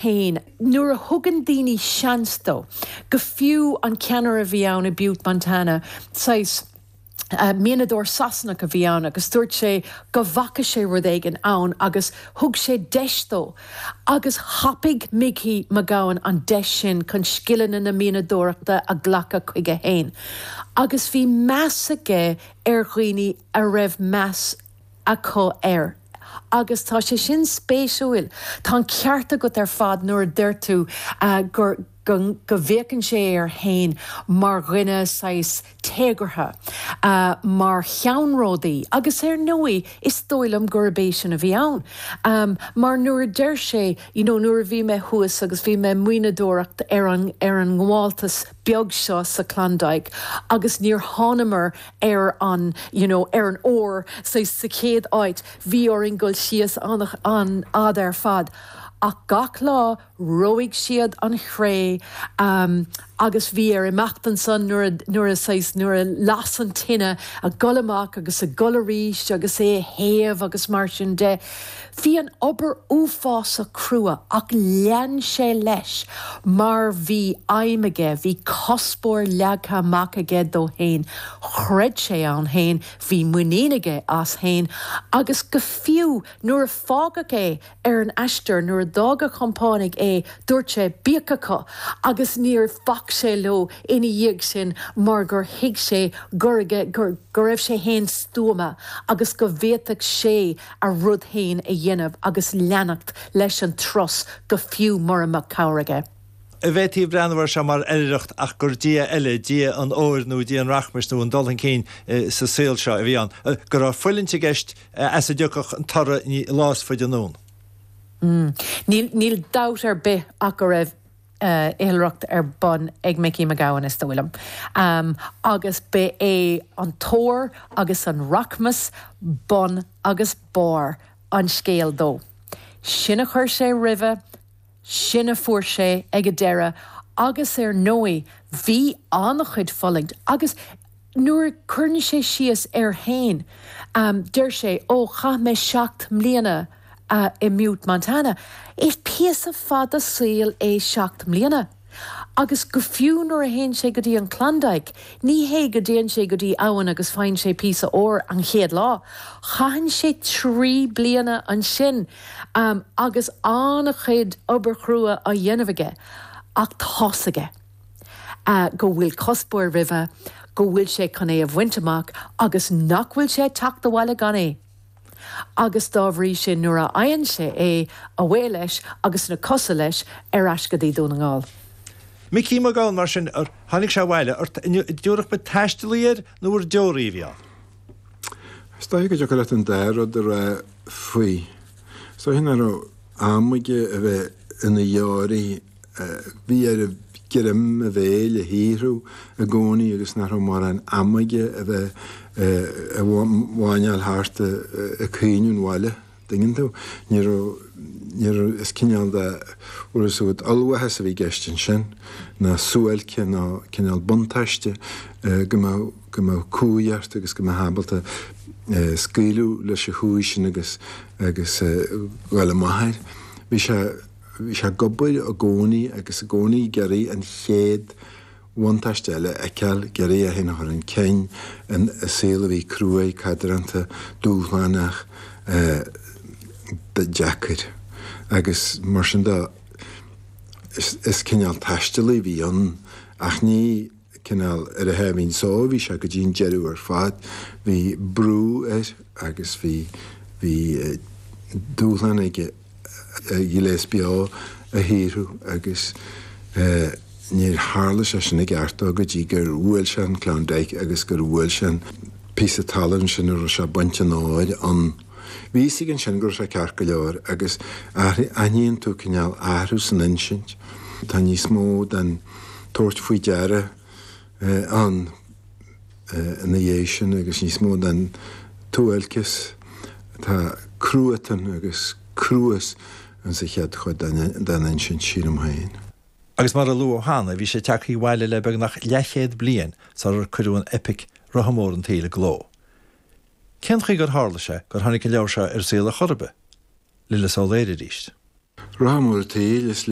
Féin. Nuair a thugann daoine seans dó, go fiú an ceannaire a bhí ann i Butte, Montana, saghas mianadóir Sasanach a bhí ann agus dúirt sé go bhfaca sé rud éigin ann agus thug sé deis dó agus thapaigh Micí Mac Gabhann an deis sin chun scileanna na mianadóireachta a ghlacadh chuige féin agus bhí meas aige ar dhaoine a raibh meas acu air. Agus tá sé sin spéisiúil. Tá an ceart agat ar fad nuair a deir tú gur, go, go bhféachann sé air féin mar dhuine saghas téagartha, mar cheannródaí. Agus ar ndóigh, is dóigh liom gurb é sin a bhí ann. Mar nuair a deir sé, you know, nuair a bhí mé thuas agus bhí mé ag mianadóireacht ar an, ar an ngabháltas beag seo sa Klondike agus níor thánamar ar an, you know, ar an ór sa sa chéad áit, bhí orainn dul síos an-fhada ar fad. Ach gach lá reoigh siad an chré agus bhí air imeacht ansan nuair a, nuair a saghas, nuair a las an tine, a dhul amach agus a dhul arís agus é a théamh agus mar sin de. Bhí an obair uafásach crua ach lean sé leis mar bhí aidhm aige, bhí cuspóir leagtha amach aige dó fhéin, chreid sé ann fhéin, bhí muinín aige as fhéin agus go fiú nuair a fágadh é ar an aistear, nuair a d'fhág a chompánaigh é, dúirt sé bíodh acu agus níor bhac sé leo ina dhiaidh sin mar gur thuig sé gur aige, gur, go raibh sé fhéin stuama agus go bhféadfadh sé a rud féin a dhéanamh agus leanacht leis an turas go fiú mura mbeadh cabhair aige. An bhféadfaí breathnú air seo mar oilithreacht ach gur Dia eile, Dia an óir nó Dia an rachmais nó an dul chun cinn sa saol seo a bhí ann, go raibh fuiliúint i gceist as a dtiocfadh an toradh lá is faide anonn. Níl, níl dabht ar bith ach go raibh oilithreacht ar bun ag Micí Mac Gabhann, is dóigh liom. Agus ba é an t-ór agus an rachmas bun agus barr an scéil dó. Sin a chuir sé roimhe, sin a fuair sé ag an deireadh agus ar ndóigh bhí an-chuid fulaingt agus nuair a chuireann sé síos air féin deir sé 'Ó, chaith mé 7 mbliana i mButte, Montana. Is píosa fada saoil é 7 mbliana. Agus go fiú nuair a théann sé go dtí an Klondike, ní hé go dtéann sé go dtí abhainn agus faigheann sé píosa óir an chéad lá. Caitheann sé 3 bliana ansin agus an-chuid obair chrua á dhéanamh aige. Ach tá's aige go bhfuil cuspóir roimhe, go bhfuil sé chun é a bhaint amach agus nach bhfuil sé ag teacht abhaile gan é. Agus dá bhrí sin nuair a fhaigheann sé é, away leis agus na cosa leis ar ais go dtí Dún na nGall. Micí Mac Gabhann, mar sin, ar tháinig sé abhaile, ar dtabharfadh muid taistealaí air nó ar deoraí a bhí ann? Is dóiche go dtiocfadh leat an dá rud a rá faoi. Is dóiche nach raibh am aige a bheith ina dheoraí Bhí air greim a bhéil a shaothrú i gcónaí agus nach raibh mórán ama aige a bheith ag máinneáil thart ag caoineadh an bhaile, dtuigeann tú. Ní raibh, ní raibh, is cineál de, bhfuil a fhios agat, ollmhaitheas a bhí i gceist ansin, ná suáilce ná cineál buntáiste go mbeadh, go mbeadh cumhaidh ort agus go mbeifeá ábalta scaoileadh leis an chumhaidh sin agus, agus dhul amach air. Bhí sé. Bhí sé ag obair i gcónaí agus i gcónaí ag iarraidh an chéad bhuntáiste eile a fheiceáil, ag iarraidh é féin a chur chun cinn i saol a bhí cruaidh, cadránta, dúshlánach, deacair. Agus mar sin de, is cineál taistealaí a bhí ann ach ní cineál ar a sháimhín só a bhí sé go dtí an deireadh ar fad. Bhí brú air agus bhí, bhí dúshlán aige. a ghléas beo a shaothrú agus níor tharla sé sin i gceart dó go dtí gur bhuail sé an Klondike agus gur bhuail sé an píosa talún sin a raibh sé ag baint an óir ann. Bhí fhios aige ansin go raibh sé ceart go leor agus aithníonn tú cineál athrú san insint. Tá níos mó den tabhairt faoi deara ann. ina dhiaidh sin agus níos mó den tsuáilceas. Tá cruatan agus cruas insa chéad chuid den insint, sílim féin. Agus mar a luadh cheana, bhí sé tagtha abhaile le beagnach leathchéad bliain sular cuireadh an eipic Rotha Mór an tSaoil i gcló. Cén chaoi gur tharla sé gur tháinig an leabhar seo ar an saol ar chor ar bith? Lillis Ó Laoire arís. Rotha mór an tsaoil, is.